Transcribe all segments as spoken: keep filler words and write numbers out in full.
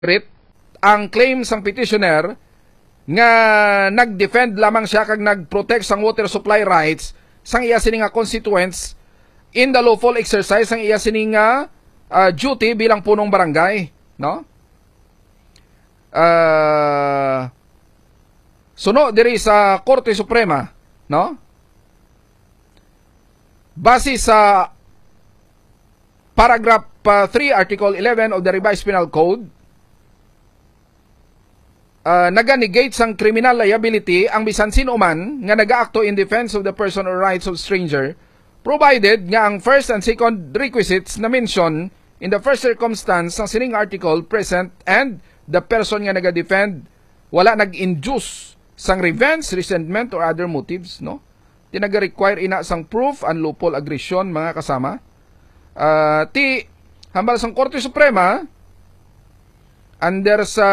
Rit, ang claim sang petitioner nga nag-defend lamang siya kag nag-protect sang water supply rights sang iya sini nga constituents in the lawful exercise sang iya sini nga, ah, duty bilang punong barangay, no? Ah, suno diri sa Korte Suprema, no? Base sa paragraph, ah, three, Article eleven of the Revised Penal Code, ah, naga-negate sang criminal liability ang bisan sino man nga nagaakto in defense of the person or rights of stranger, provided nga ang first and second requisites na mention in the first circumstance sang sining article present and the person nga naga-defend wala nag-induce sang revenge, resentment, or other motives, no? Ti naga-require ina sang proof ang lawful aggression, mga kasama. Ah, ti, hambal sang Korte Suprema, under sa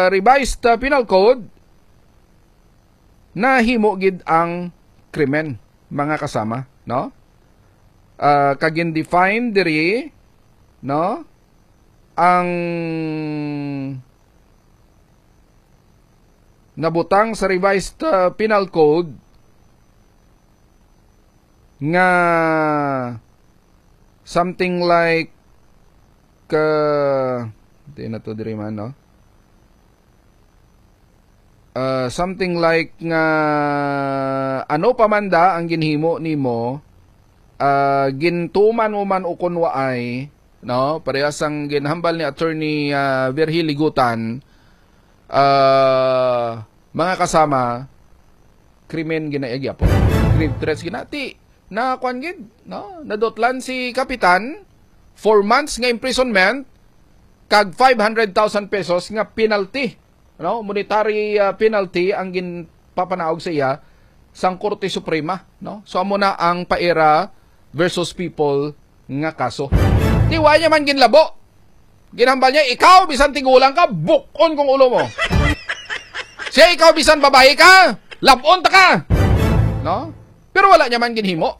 Revised, ah, Penal Code, nahimo gid ang krimen, mga kasama, no? Ah, kag gin-define diri, no? Ang nabutang sa Revised, ah, Penal Code nga something like, ah, di na to diri man, no? Ah, something like nga, ano pa man da ang ginhimo nimo, ah, gintuman mo man o kon waay, no? Parehas ang ginhambal ni Attorney, ah, Virgil Ligutan, ah, mga kasama, krimen gina-, gyapon. Grave threats gina-, ti, na kwan gid, no? Nadutlan si Kapitan, four months nga imprisonment, kag five hundred thousand pesos nga penalty, no? Monetary, ah, penalty ang ginpapanaog sa iya sang Korte Suprema, no? So, amo na ang Paera versus People nga kaso. Ti, wa niya man ginlabo. Ginhambal niya, "Ikaw, bisan tigulang ka, bukon kong ulo mo." Siya, "Ikaw, bisan babayi ka, labon ta ka." No? Pero wala niya man ginhimo,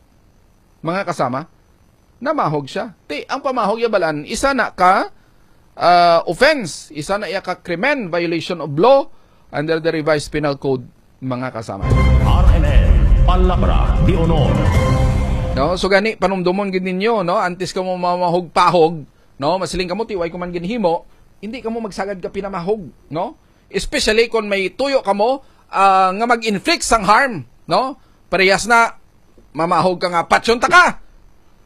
mga kasama. Namahog siya. Ti, ang pamahog ya balan, isa na ka, ah, offense, isa na iya ka krimen, violation of law under the Revised Penal Code, mga kasama. R M N, Palabra de Honor. No? So gani, panumdomon gid ninyo, no? Antes kamo mamahog-pahog, no? Masiling kamo, "Ti, way ko man ginhimo," hindi kamo magsagad ka pinamahog, no? Especially kung may tuyo kamo, ah, nga mag-inflict sang harm, no? Parehas na, mamahog ka nga, "Patyon ta ka!"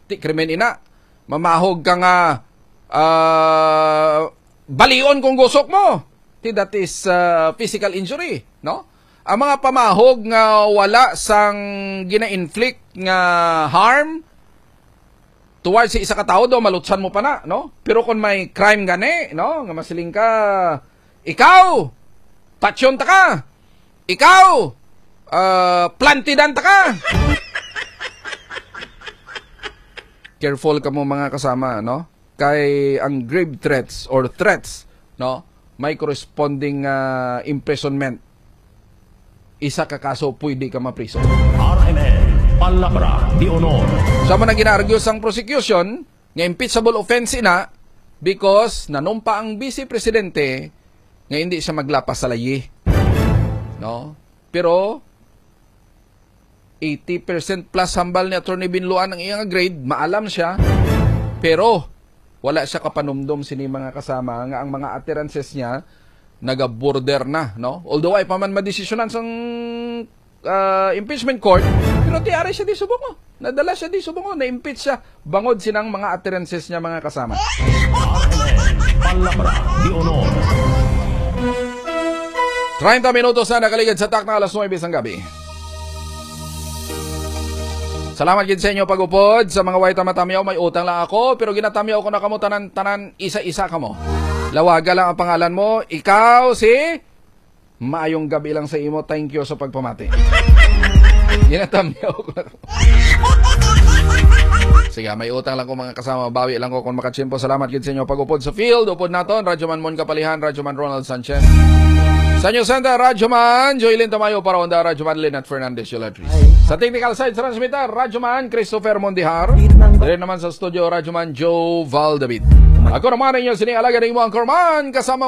Ti krimen ina. Mamahog ka nga, ah, "Balion kong gusok mo." Ti, that is, ah, physical injury, no? Ang mga pamahog nga wala sang gina-inflict nga harm towards sa isa ka tawo, daw malutsan mo pa na, no? Pero kung may crime gani, no, nga masiling ka, "Ikaw, patyon ta ka! Ikaw, ah, plantidan ta ka!" Careful kamo, mga kasama, no? Kay ang grave threats or threats, no, may corresponding, ah, imprisonment. Isa ka kaso, pwede ka mapriso. R M N, Palabra de Honor. Sa man ang ginaargue sang prosecution, nga impeachable offense ina because nanumpa ang vice presidente nga hindi siya maglapas sa layi. No? Pero eighty percent plus hambal ni Attorney Binloan ang iyang grade, maalam siya. Pero wala siya kapanumdom sini, mga kasama, nga ang mga utterances niya naga-border na, no? Although ay pa man madesisyonan sang, ah, impeachment court, pero ti ari siya di subong, oh. Nadala siya di subong, oh. Na-impeach siya bangod sinang mga utterances niya, mga kasama. Palabra de Honor. Treinta minutos na nakaligid sa takna alas nuebe sang gabi. Salamat gid sa inyo pag-upod. Sa mga way ta matamyaw, may utang lang ako, pero ginatamyaw ko na kamo tanan-tanan, isa-isa kamo. Lawaga lang ang pangalan mo. Ikaw si Maayong gabi lang sa imo. Thank you sa pagpamati. Ginatamyaw ko na. Sige, may utang lang ko, mga kasama. Bawi lang ko kung makatsimpo. Salamat gid sa inyo pag-upod sa field. Upod naton, Radyo Man Mon Kapalihan, Radyo Man Ronald Sanchez. Sa News Center, Radyo Man Joylin Tamayo, para onda, Radyo Man Lynette Fernandez Yolatris. Sa technical side, sa transmitter, Radyo Man Christopher Mondihar. Diri naman sa studio, Radyo Man Joe Val David. Ako naman ang inyo sini alaga ning mga kurman, kasama mo